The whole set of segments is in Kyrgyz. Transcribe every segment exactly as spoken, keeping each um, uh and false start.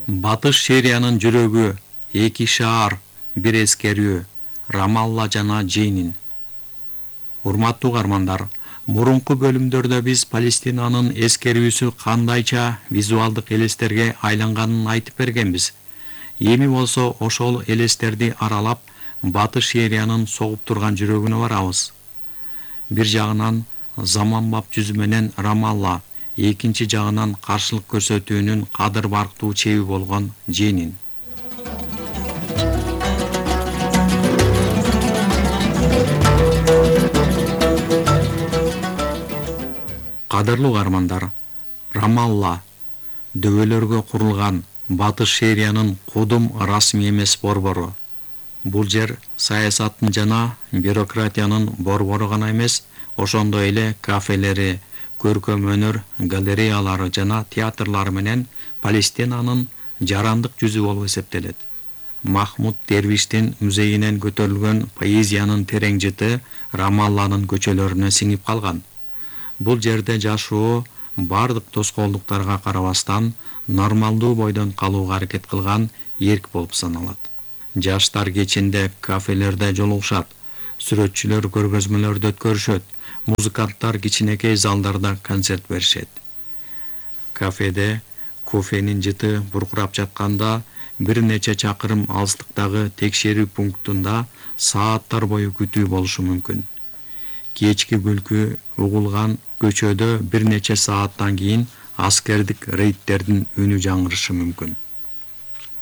Батыш Сириянын жүрөгү, эки шаар, бир эскерүү, Рамалла жана Дженин. Урматтуу угармандар, мурунку бөлүмдөрдө биз Палестинанын эскерүүсү кандайча визуалдык элестерге айланганын айтып бергенбиз. Эми болсо ошол элестерди аралап, Батыш Сириянын согуп турган жүрөгүнө барабыз. Бир жагынан заманбап жүзү менен Рамалла, экинчи жагынан каршылык көрсөтүүнүн кадыр барктуу чеби болгон Дженин. Кадырлуу угармандар, Рамалла дөбөлөргө курулган Батыш Сириянын кудум расмий эмес борбору. Бул жер саясаттын жана бюрократиянын борбору гана эмес, ошондой эле кафелери, көркөм өнөр галереялары жана театрлары менен Палестинанын жарандык жүзү болуп эсептелет. Махмуд Дервиштин музейинен көтөрүлгөн поэзиянын терең жыты Рамалланын көчөлөрүнө сиңип калган. Бул жерде жашоо бардык тоскоолдуктарга карабастан нормалдуу бойдон калууга аракет кылган эрк болуп саналат. Жаштар кечинде кафелерде жолугушат, сүрөтчүлөр көргөзмөлөрдү өткөрүшөт, музыканттар кичинекей залдарда концерт беришет. Кафеде кофенин жыты буркурап жатканда бир нече чакырым алыстыктагы текшерүү пунктунда сааттар бою күтүү болушу мүмкүн. Кечки күлкү угулган көчөдө бир нече сааттан кийин аскердик рейдтердин үнү жаңырышы мүмкүн.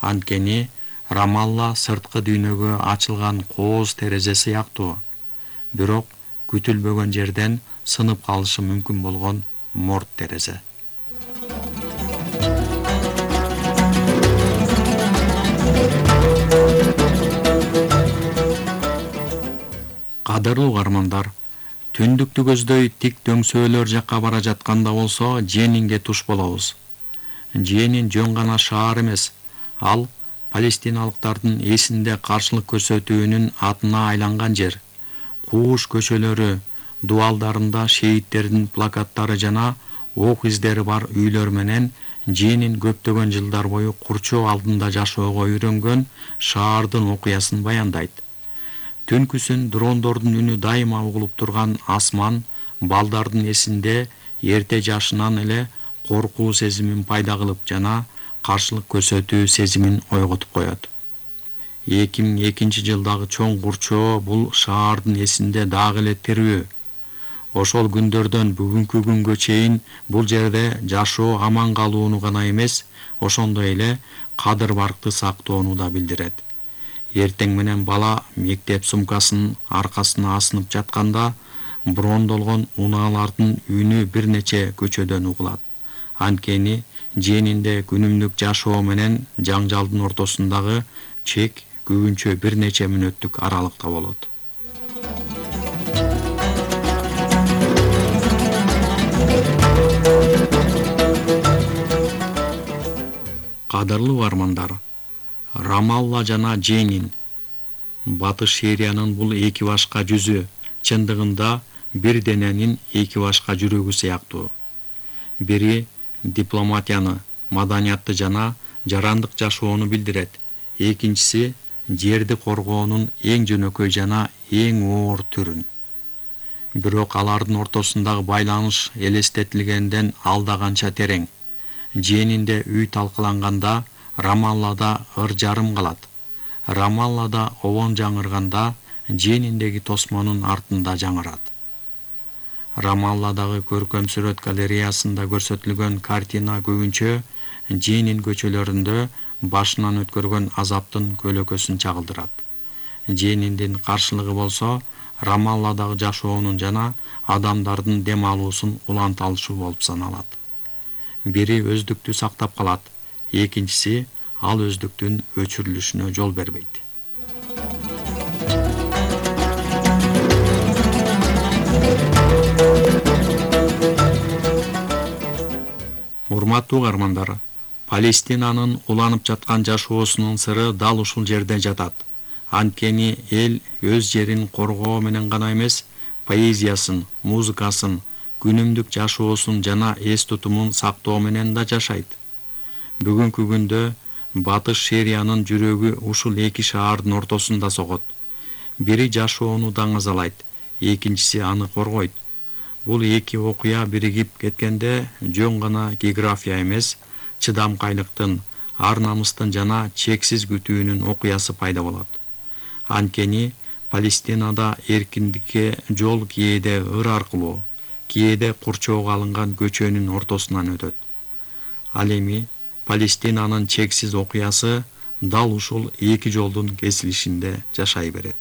Анткени Рамалла сырткы дүйнөгө ачылган кооз терезе сыяктуу, бирок күтүлбөгөн жерден сынып калышы мүмкүн болгон морт терезе. Кадырлуу угармандар, түндүктү көздөй тик дөңсөөлөр жакка бара жатканда болсо Дженинге туш болобуз. Дженин жөн гана шаар эмес, ал палестиналыктардын эсинде каршылык көрсөтүүнүн атына айланган жер. Кууш көчөлөрү, дуалдарында шейттердин плакаттары жана ок издери бар үйлөр менен Дженин көптөгөн жылдар бою курчоо алдында жашоого үйрөнгөн шаардын окуясын баяндайт. Түнкүсүн дрондордун үнү дайыма угулуп турган асман балдардын эсинде эрте жашынан эле коркуу сезимин пайда кылып жана каршылык көрсөтүү сезимин ойготуп коет. эки миң экинчи жылдагы чоң курчоо бул шаардын эсинде дагы эле тирүү. Ошол күндөрдөн бүгүнкү күнгө чейин бул жерде жашоо аман калууну гана эмес, ошондой эле кадыр баркты сактоону да билдирет. Эртең менен бала мектеп сумкасын аркасына асынып жатканда брондолгон унаалардын үнү бир нече көчөдөн угулат. Анткени Дженинде күнүмдүк жашоо менен жаңжалдын ортосундагы чек көбүнчө бир нече мүнөттүк аралыкта болот. Кадырлуу угармандар, Рамалла жана Дженин, Батыш Сириянын бул эки башка жүзү чындыгында бир дененин эки башка жүрөгү сыяктуу. Бири дипломатияны, маданиятты жана жарандык жашоону билдирет. Экинчиси жерди коргоонун эң жөнөкөй жана эң оор түрүн. Бирок алардын ортосундагы байланыш элестетилгенден алда канча терең. Дженинде үй талкаланганда Рамаллада ыр жарым калат. Рамаллада обон жаңырганда Джениндеги тосмонун артында жаңырат. Рамалладагы көркөм сүрөт галереясында көрсөтүлгөн картина көбүнчө Дженин көчөлөрүндө башынан өткөргөн азаптын көлөкөсүн чагылдырат. Джениндин каршылыгы болсо Рамалладагы жашоонун жана адамдардын дем алуусун уланталышуу болуп саналат. Бири өздүктү сактап калат, экинчиси ал өздүктүн өчүрүлүшүнө жол бербейт. Урматтуу угармандар, Палестинанын уланып жаткан жашоосунун сыры дал ушул жерде жатат. Анткени эл өз жерин коргоо менен гана эмес, поэзиясын, музыкасын, күнүмдүк жашоосун жана эс тутумун сактоо менен да жашайт. Бүгүнкү күндө Батыш Шериянын жүрөгү ушул эки шаардын ортосунда согот. Бири жашоону даңазалайт, экинчиси аны коргойт. Бул эки окуя биригип кеткенде жөн гана география эмес, чыдамкайлыктын, ар намыстын жана чексиз күтүүнүн окуясы пайда болот. Анткени Палестинада эркиндикке жол кээде ыр аркылуу, кээде курчоого алынган көчөнүн ортосунан өтөт. Ал эми Палестинанын чексиз окуясы дал ушул эки жолдун кесилишинде жашай берет.